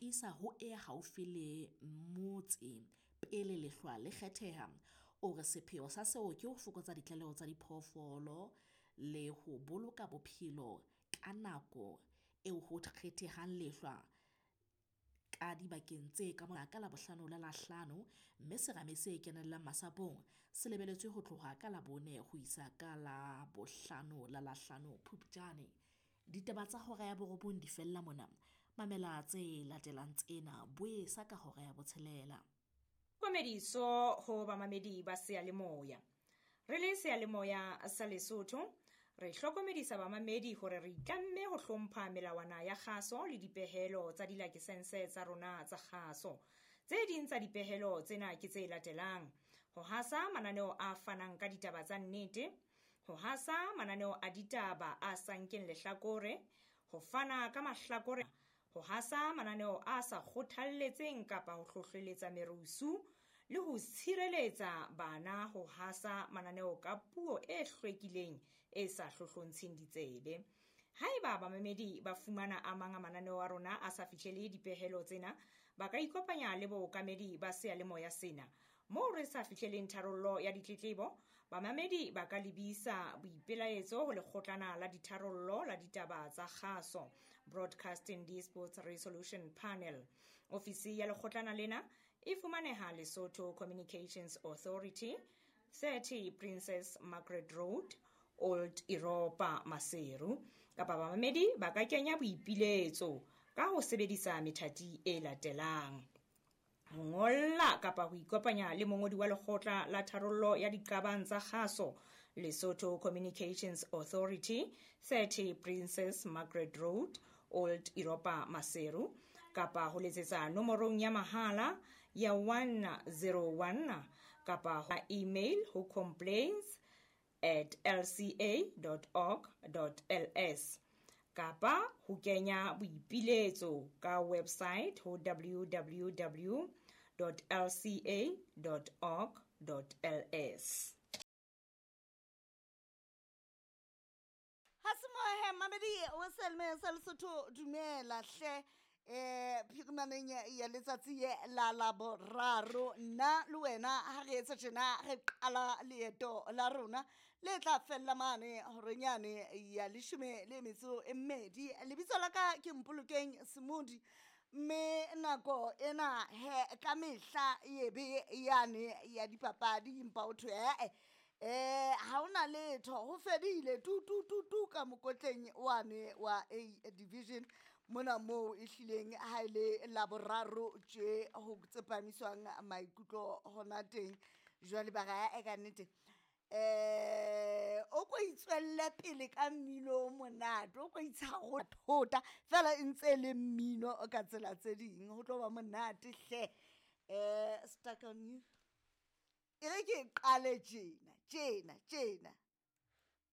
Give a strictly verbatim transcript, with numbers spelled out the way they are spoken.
tiisa ho e haufi le motse pele lehlwa le kgetheha. O re sepheo sa seo ke ho fokotsa ditlaleho tsa diphoofolo le ho boloka bophelo ka nako eo ho kgethehang lehlwa ka dibakeng tse ka mona ka Labohlano la Lahlano, mme serame se kenellang masapong se lebeletswe ho tloha ka Labone ho isa ka Labohlano la Lahlano Phupjane. Ditaba tsa hora ya borobong di fella mona. Mamela tse latelang tsena boesa ka hora ya botshelela. Komediso ho bamamedi ba seyalemoya. Re le seyalemoya sa Lesotho, re hlokomedisa bamamedi hore re itlamme ho hlompha melawana ya kgaso le dipehelo tsa dilakesense tsa rona tsa kgaso. Tse ding tsa dipehelo tsena ke tse latelang: ho hasa mananeo a fanang ka ditaba tsa nnete, ho hasa mananeo a ditaba a sa nkeng lehlakore, ho fana ka mahlakore, ho hasa mananeo a sa kgothalletseng kapa ho hlohleletsa merusu, le ho tshireletsa bana ho hasa mananeo ka puo e hlwekileng e sa hlohlontsheng ditsebe. Haeba bamamedi ba fumana a mang a mananeo a rona a sa fihlele dipehelo tsena, ba ka ikopanya le bookamedi ba seyalemoya sena. Moo re sa fihleleng tharollo ya ditletlebo, bamamedi ba ka lebisa boipelaetso ho lekgotlana la ditharollo la ditaba tsa kgaso, Broadcasting Disputes Resolution Panel. Ofisi ya lekgotlana lena e fumaneha Lesotho Communications Authority, thirty Princess Margaret Road, Old Europa, Maseru. Kapa bamamedi ba ka kenya boipiletso ka ho sebedisa methati e latelang: ho ngolla kapa ho ikopanya le mongodi wa lekgotla la tharollo ya diqabang tsa kgaso, Lesotho Communications Authority, thirty Princess Margaret Road, Old Europa, Maseru, kapa ho letsetsa nomorong ya mahala ya one zero one kapa ho email ho complaints at l c a dot org dot l s kapa ho kenya boipiletso ka website ho w w w dot l c a dot org dot l s. Ha se mohe mamedi o selme sa Lesotho, dumela hle. Eh phirimaneng ya letsatsi la Laboraro, nna le wena ha re etsa tjena re qala leeto la rona le tla fella mane horenyane ya leshome le metso e mmedi. Lebitso la ka ke Mpolokeng Semodi, mme nako ena he ka mehla e be yane ya dipapadi, empa o thwe eh eh ha hona letho, ho fedile tu tu tu tu ka mokotleng wane wa A division mona moo e hlileng ha ile Laboraro tje ho tsepamiswang maikutlo hona teng. Jwale ba ra e ka nnete eh o ko itswelle pele ka mmino o monate, o ko itsharo thota fela e ntse le mmino ka tsela tse ding, ho tlo ba monate hle. Eh stuck on you. E re ke qale tjena tjena tjena.